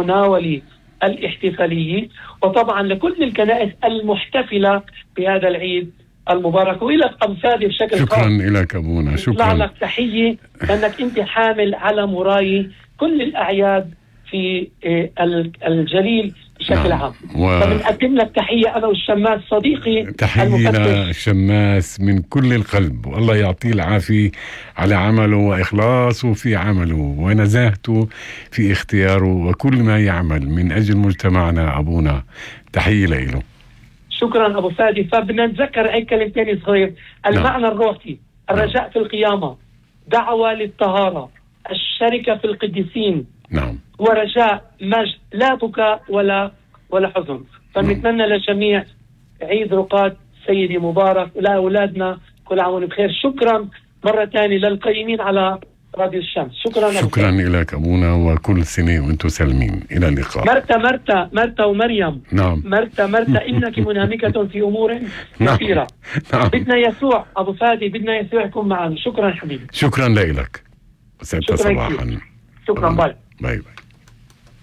المناولة الاحتفالية، وطبعا لكل الكنائس المحتفلة بهذا العيد المبارك. وإلى أبو فادي بشكل خاص شكرا لك أبونا، شكرا لك تحية، لأنك أنت حامل علم وراي كل الأعياد في الجليل بشكل عام. فبنقدم لك تحية أنا والشماس صديقي، تحية للشماس من كل القلب، والله يعطيه العافية على عمله وإخلاصه في عمله ونزاهته في اختياره وكل ما يعمل من أجل مجتمعنا. أبونا تحية له. شكرا أبو فادي. فبدنا نتذكر أي كلمتين صغير. المعنى الروحي: الرجاء في القيامة، دعوة للطهارة، الشركة في القديسين، ورجاء مجد، لا بكاء ولا حزن. فنتمنى للجميع عيد رقاد سيدي مبارك، ولأولادنا كل عام بخير. شكرا مرة تانية للقيمين على راديو الشمس. شكرا لك أبونا، وكل سنة وانتم سالمين. إلى اللقاء. مرتا ومريم. مرتا إنك منهمكة في أمور كثيرة. بدنا يسوع أبو فادي، بدنا يسوع يكون معنا. شكرا حبيبي. شكرا لك. 6 صباحا. شكرا. باي.